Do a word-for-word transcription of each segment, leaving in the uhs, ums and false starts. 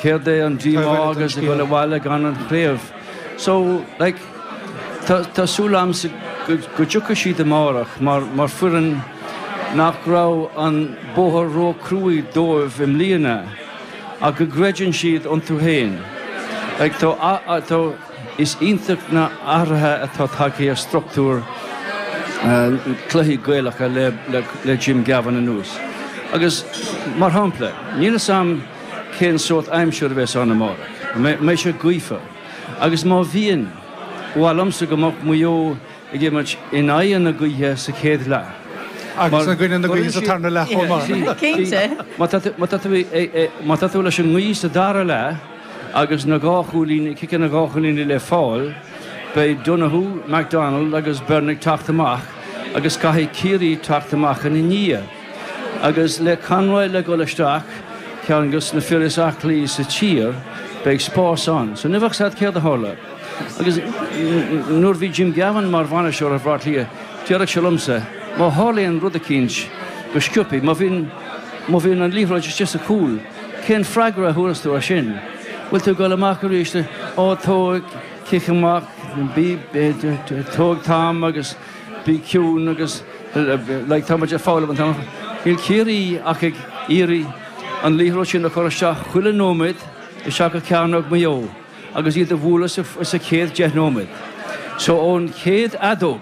Céard é an díomá agus ag dul abhaile gan an chraobh. So, like, tá tá súil agamsa go go dtiocfaidh siad amárach mar mar foireann nach raibh an bóthar ró-chruaidh dóibh i mbliana ach go gcreideann siad iontu féin. Like, tá tá is iontach na hathruithe atá tagtha ar struchtúr cluichí Gaelacha le le le Jim Gavin anuas. Agus mar shampla, níl a fhios agam cén sórt aimsir a bheas ann amárach. Mbeidh sé gaofa. Agus má bhíonn, ba mhaith liomsa go mbeadh Maigh Eo ag imirt in aghaidh na gaoithe sa chéad leath. Agus i gcoinne na gaoithe sa tarna leath chomh maith. Cinnte. Má tá tú má tá tú má tá tú leis an ngaoth sa dara leath agus na dhá chúilín, ciceanna dhá chúilín le fáil, beidh Donoghue, McDonald agus Byrne ag teacht amach agus caithfidh Ciarraí teacht amach ina ndiaidh. Agus le Conroy le dul isteach, ceann de na fir is aclaí sa tír, beidh spás ann. So ní bheadh a fhios agat céard a tharla. Agus nuair a bhí Jim Gavin mar bhainisteoir ar Bhaile Átha Cliath, déarfadh sé liomsa, má tharlaíonn rud eicínt go sciobtha, má bhíonn má bhíonn an liathróid istigh sa chúl, cén freagra a thabharfas tú air sin? Bhfuil tú ag dul amach arís, ó tóg cic amach, bí tóg t-am agus bí ciúin agus like tá muid ag foghlaim an t-am. Níl Ciarraí ach ag iarraidh an liathróid sin a chur isteach chuile nóiméad isteach i gcearnóg Mhaigh Eo agus iad a bhualadh sa, sa chéad deich nóiméad. So ón chéad fheadóg,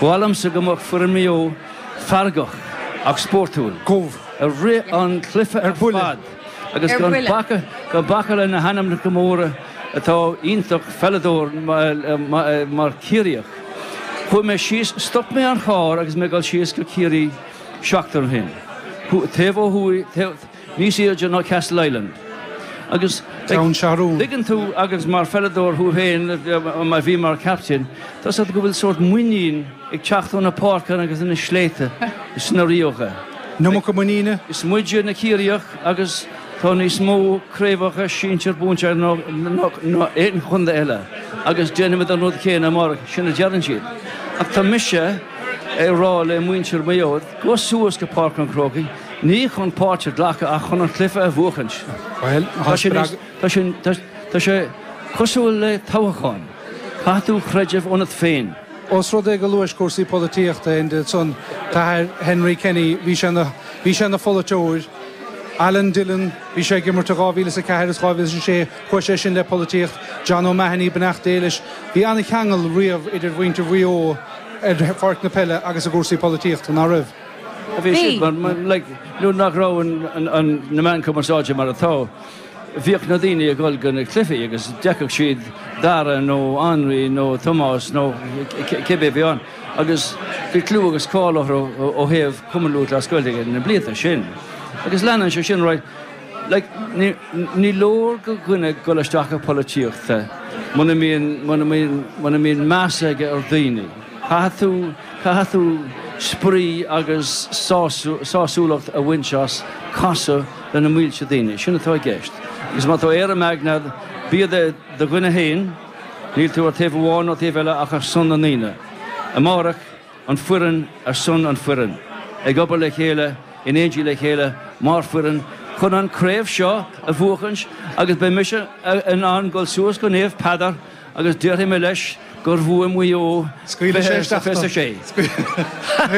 ba mhaith liomsa go mbeadh foireann Mhaigh Eo feargach ach spórtúil. Gobh. I rith an chluiche ar fad agus Ar gan buile. bacadh gan bacadh le na hainmneacha móra atá iontach pheileadóir mar, mar Chiarraíoch. Chuaigh mé síos, stop mé an carr agus mé ag dul síos go Ciarraí seachtain ó shin. Taobh ó thuaidh, taobh, níos airde ná Castleisland. Agus Ceann Seathrún. Tuigeann tú agus mar pheileadóir thú féin a bhí mar captain, tá a fhios agat go bhfuil sórt muinín ag teacht ó na páirceanna agus na sléibhte sna ríocha. An iomarca muiníne? Is muide na Ciarraíoch agus tá níos mó craobhacha sinsir buaite ná ná ná aon chontae eile agus déanfaimid an rud céanna amárach, sin a deireann siad. Ach tá mise ag rá le muintir Mhaigh Eo, gabh suas go Páirc an Chrócaigh, ní chun páirt a ghlacadh ach chun an cluiche a bhuachaint. Bhuel, Tá sé níos, tá sé, tá, tá sé cosúil le toghchán. Caithfidh tú creideamh ionat féin. Ós rud é go luais cúrsaí polaitíochta Enda ansan tá Henry Kenny, bhí sé ina bhí sé ina pholaiteoir. Alan Dillon, bhí sé ag imirt i dhá mhíle is a ceathair is dhá mhíle is a sé, chuaigh sé sin le polaitíocht. John O'Mahony, beannacht Dé leis. Bhí an-cheangal riamh idir mhuintir Mhaigh Eo ar pháirc na peile agus i gcúrsaí polaitíochta, nach raibh? Bhí Bhí. siad mar, mar, like, nuair nach raibh an, an, an, na meáin cumarsáide mar atá, bhíodh na daoine ag dul go na cluichí agus d'fheicfeadh siad Dara nó Anraí nó Tomás nó cibé a bhí ann agus bhí clú agus cáil orthu ó thaobh Cumann Lúthchleas Gael ag na blianta sin. Agus leanann sé sin right, like, ní, ní leor go dhuine dul isteach i polaitíochta muna mbíonn, muna mbíonn, muna mbíonn meas aige ar dhaoine. Caithfidh tú, caithfidh tú spraoi agus sású, sásúlacht a bhaint as casadh le na mílte daoine. Sin atá i gceist. Agus má tá éirim agat, bí do do dhuine féin, níl tú ar taobh amháin nó taobh eile ach ar son na ndaoine. Amárach an foireann ar son an foireann. Ag obair le chéile, in éindí le chéile, mar foireann, chun an craobh seo a bhuachaint agus beidh mise in ann dul suas go Naomh Peadar agus déarfaidh mé leis gur bhuaigh Maigh Eo Scaoilfidh sé isteach fiche sé.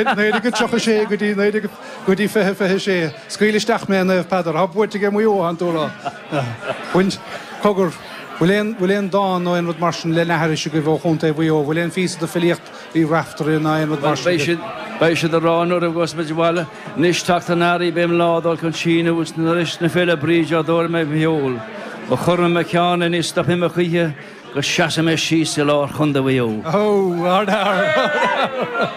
Naoi déag tríocha sé go dtí naoi déag go dtí fiche fiche sé. Scaoil isteach mé Naomh Peadar, tá buaite ag Maigh Eo an tú rá. Baint cogar bhfuil aon bhfuil aon dán nó aon rud mar sin le n-aithris agaibh ó Chontae Mhaigh Eo, bhfuil aon phíosa de filíocht Uí Raiftearaí ná aon rud mar sin Beidh siad beidh siad ag rá nuair a ghabhfas muid abhaile, anois teacht an earraigh beidh an lá dul chun síneadh is nuair is na Féile Bríde á dtóir mé mo sheol. Ó chuir mé mo cheann é ní stopfaidh mé choíche go seasfaidh mé síos i lár Chontae Mhaigh Eo. Ó, ard-fhear!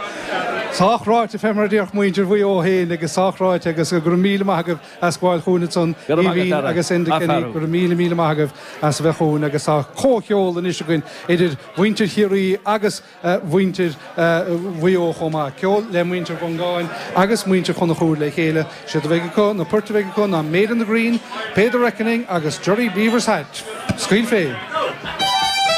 Sách ráite fé mar a déarfadh muintir Mhaigh Eo féin agus sách ráite agus go raibh míle maith agaibh as gabháil chugainn ansan, Go raibh maith agat, Aoibhín Dara. agus Enda Kenny, Athfhearú. go raibh míle míle maith agaibh as a bheith chugainn agus tá comhcheol anois againn idir mhuintir Chiarraí agus mhuintir Mhaigh Eo chomh maith. Ceol le muintir Mhongáin agus muintir Chonchúir le chéile. Siad a bheidh acu, na poirt a bheidh acu ná Made in the Green, Pay the Reckoning agus Jerry Beaver's Hat. Scaoil fé!